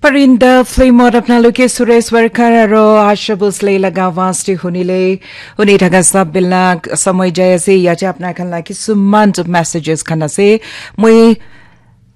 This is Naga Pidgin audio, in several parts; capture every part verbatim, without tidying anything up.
Parinda film ot apnaloke Suresh Warkar aro Asha Bhosle laga awaaz te hunile, huni thaka sab bilak samoi jai ase, yache apna khan la kisuman messages khan ase. Moi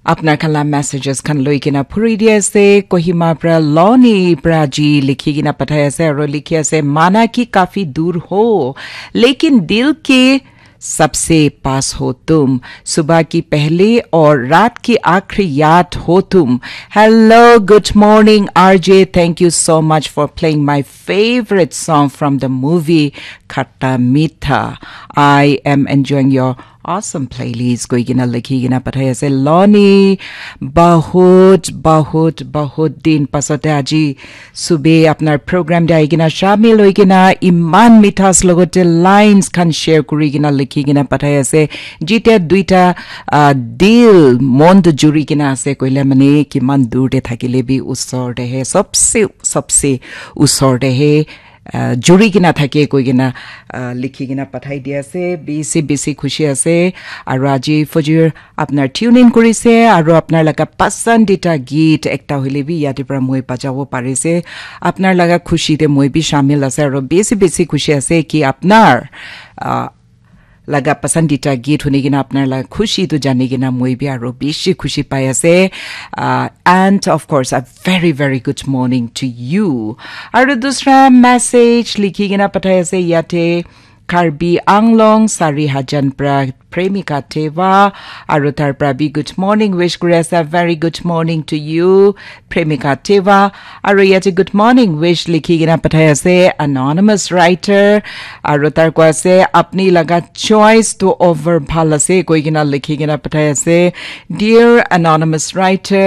apna khan la messages khan loi kena phuri di ase. Kohima pra Loni pra ji likhi kena pathai ase aro likhi ase, "Mana ki kafi dur ho, lekin dil ke sabse paas ho tum, subah ki pehli aur raat ki aakhri yaad ho tum." Hello, good morning, R J. Thank you so much for playing my favorite song from the movie Khatta Meetha. I am enjoying your awesome playlist. Koi kena likhi kena pathai ase Loni. Bahut, bahut, bahut din pasote aji sube apnar program te ahi kena shamil hoi kena iman mithas logote lines khan share kuri kena likhi kena pathai ase. Jite duita, ah, dil mon to juri kena ase koile mane kiman dur te thakile bi usor te he, sabse, sabse usor te he, ah, juri kena thake koi kena, ah, likhi kena pathai di ase. Bisi, bisi khushi ase. Aru aji fajir apnar tune in kurise aru apnar laga pasandita geet ekta hoile bi yate pra moi bajabo parise. Apnar laga khushi te moi bi shamil ase aru bisi, bisi khushi ase ki apnar, ah, laga pasandita geet huni kena apnar laga khushi tu jani kena moi bi aru bisi khushi pai ase. Ah, and of course, a very, very good morning to you. Aru dusra message likhi kena pathai ase yate Karbi Anglong, Sari Hajan pra Premika Teva, aru tar pra bi good morning wish kuri ase. Very good morning to you, Premika Teva. Aru yate good morning wish likhi kena pathai ase anonymous writer. Aru tar koi ase, "Apni laga choice to over bhal ase," koi kena likhi kena pathai ase. Dear anonymous writer,